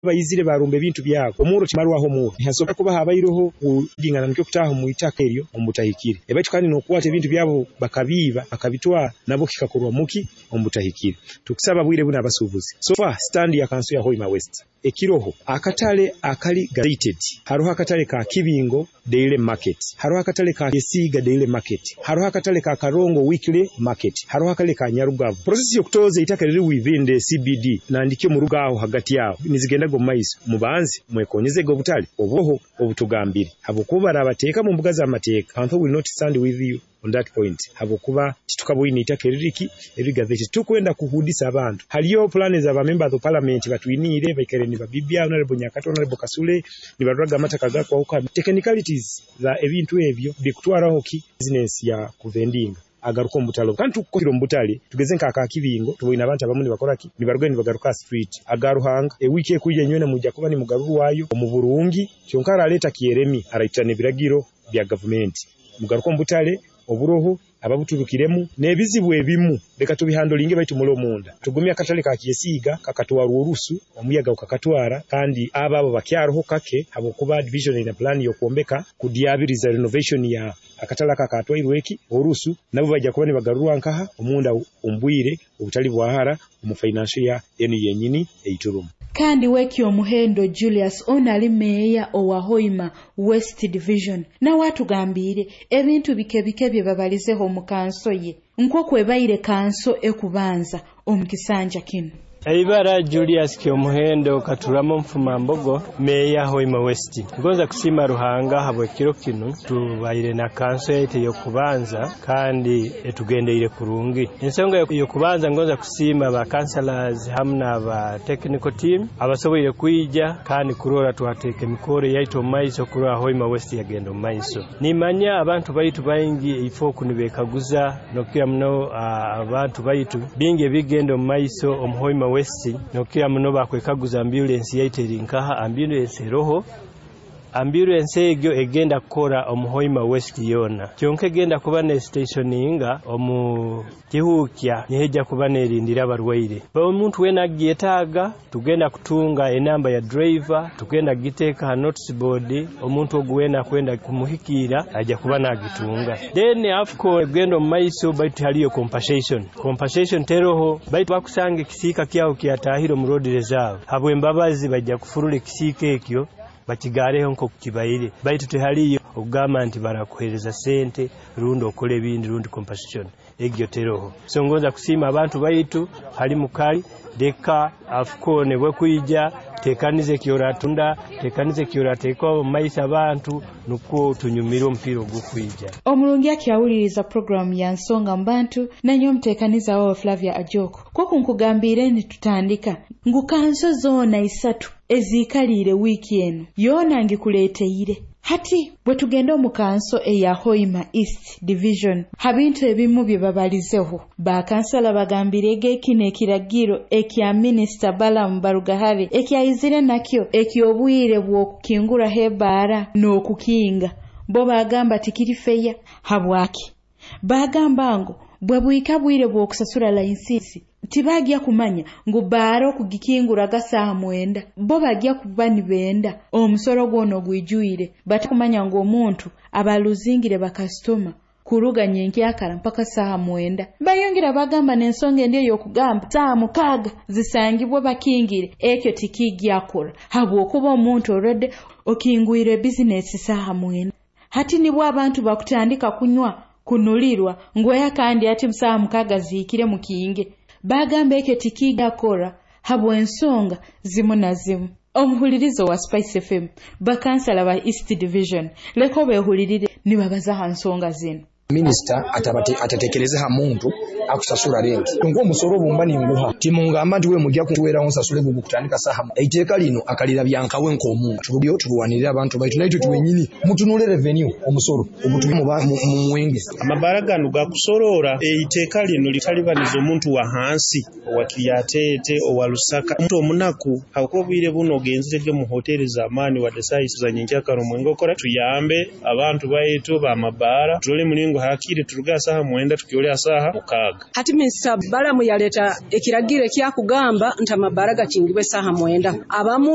Baizire barumba ebintu byabo omuro kimarwaho omuro nihasobora kuba habaireho kudingana nikyo kutaaha omu itaka eryo omu butahikire. Baitu kandi n'okukwata ebintu byabo bakabiiba bakabitwara nabwo kikakorwa muki omu butahikire. Tukusaba bwire buno abasuubuzi. So far stand ya kanso ya Hoima West ekiroho akatale akali gazetted, haroho akatale ka Kibingo Daily Market, haroho akatale ka Esiiga Daily Market, haroho akatale ka Karongo Weekly Market, haroho akatale ka Nyarugavu. Process y'okutoza eitaka riri within the CBD nandikyo mu rugaho hagati aho nizigendaga omu maiso. Mubanze mwekonyezege obutale obuho obutugambire, habwokuba barabateeka mu mbuga z'amateeka. Kanso will not stand with you on that point, habwokuba titukaboine itaka eririki erigazetted. Tukwenda kuhudisa abantu. Haliyo plans aba members of parliament batwiniire baikare ni babibya Honorable Nyakato, Honorable Kasule nibaruraga amataka gakwahuka. Technicalities za ebintu ebyo bikutwaraho ki business ya kuvendinga agaruka omu butale. Kandi tukukira omu butale tugeze nka aka Kibingo tuboine abantu abamu nibakora ki nibaruga nibagaruka street aga Ruhanga ewiki ekwija nywena mujja kuba nimugarurwayo omu burungi. Kyonka araleta kyeremi araitana ebiragiro bya gavumenti mugaruka omu butale oburoho ababuturukiremu n'ebizibu ebimu leka tubihandolinge baitu mulo munda tugumya akatale ka Kyesiiga kakatwarwa orusu omuyaga gukakatwara kandi abo bakyaroho kake habwokuba division ina plan y'okwombeka kudyabiriza renovation ya akatale aka katwairwe eki orusu nabo bajja kuba nibagarurwa nkaha omunda ombwire obutali bwahara omu financial ya enu yenyini eiturumu. Kandi weki omuhendo Julius ono ali meeya owa Hoima West Division nawe atugambire ebintu bike bike bye babalizeho mu kanso ye nk'okwebaire kanso ekubanza omu kisanja kino. Eibara Julius Kyomuhendo Katuramo Mfumambogo, meeya Hoima West. Ngonza kusiima Ruhanga habw'ekiro kinu tubaire na kanso yaitu ey'okubanza kandi etugendeire kurungi. Ensonga y'okubanza ngonza kusiima ba councillors hamu n'aba technical team abasoboire kwija kandi kurora twateeka emikoro yaitu omu maiso kurora Hoima West yagenda omu maiso. Nimanya abantu baitu baingi ifo nibekaguza nokukira muno abantu baitu bingi ebigenda omu maiso omu Hoima West nokukira muno bakwekaguza ambulance yaitu eri nkaha. Ambulance eroho, ambulance egyo egenda kukora omu Hoima West yona, kyonka egenda kuba ne stationinga omu Kihuukya nihejja kuba nerindira abarwaire. Omuntu wena agyetaaga tugenda kutunga enamba ya driver, tugenda kugiteeka ha notice board, omuntu ogu wena akwenda kumuhikiira ajja kuba nagitunga. Then AFCON egenda omu maiso baitu haliyo compensation. Compensation teroho baitu bakusanga ekisiika kyaho kyatahire omu road reserve, habw'embabazi bajja kufurura ekisiika ekyo bakigareho nk'oku kibaire, baitu tehaliyo okugamba nti barakuhereza sente rundi okora ebindi rundi compensation egyo teroho. So ngonza kusiima abantu baitu hali mukali leka AFCON bwekwija tekanize ekyoratunda tekanize ekyorateeka omu maiso abantu nukwo tunyumire omupiira ogw'okwija. Omurungi akyawuliriza programu ya Nsonga Mbantu nanyo omuteekaniza wawe Flavia Ajoko. Kwoku nkugambire nitutandika ngu kanso zoona isatu eziikaliire wiiki eno yoona ngikuleeteire. Hati bwe tugenda omu kanso eya Hoima East Division ha bintu ebimu bye babalizeho, bakansala bagambire kino ekiragiro ekya minisita Balaam Barugahare ekyayizire nakyo eky'obwire bw'okukinguraho ebaara n'okukinga, bo bagamba tikiri feya. Habwaki bagamba ngu bwe bwika bwire bw'okusasura layisinsi tibagya kumanya ngu baara okugikinguraga saaha 9, bo bagya kuba nibenda omusoro gwona ogwijwire, batakumanya ngu omuntu abaluzingire bakasitoma kuruga nyenkyakara mpaka saaha 9. Bayongera bagamba n'ensonga endi ey'okugamba saaha 6 zisangibwa bakingire, ekyo tikigyakora habwokuba omuntu already okingwire bizinesi saaha 9. Hati nibwo abantu bakutandika kunywa kunulirwa ngweya kandi ati saaha 6 zihikire mukinge. Bagamba ekyo tikigyakora habw'ensonga zimu na zimu. Omuhulirizo wa Spice FM, bakansala ba East Division leko behulirire nibabaza ha nsonga zino. Minisita atatekereze ha muntu akusasura rent nk'omusoro obumba ninguha timungamba nti we mujja kuweraho nsasule gugu kutandika saha. Eiteeka lino akalira byankawe nk'omuntu turuyo turwanirira abantu baitu naitwe twenyini mutunule revenue omusoro ogutumu mu mwenge. Amabara gano gakusorora eiteeka lino litalibaniza omuntu wa hansi owa Kiryatete owa Lusaka omuntu omunaku habwokuba obwire buno ogenzirege mu hoteli z'amaani wadde saaha za nyenkyakara omwenge okora. Tuyambe abantu baitu b'amabaara turole mulingo hakiri turuga saha 9 tukyole saha 6. Hati minisita Balamu yaleta ekiragiro ekyakugamba nti amabaara gakingibwe saha 9 abamu.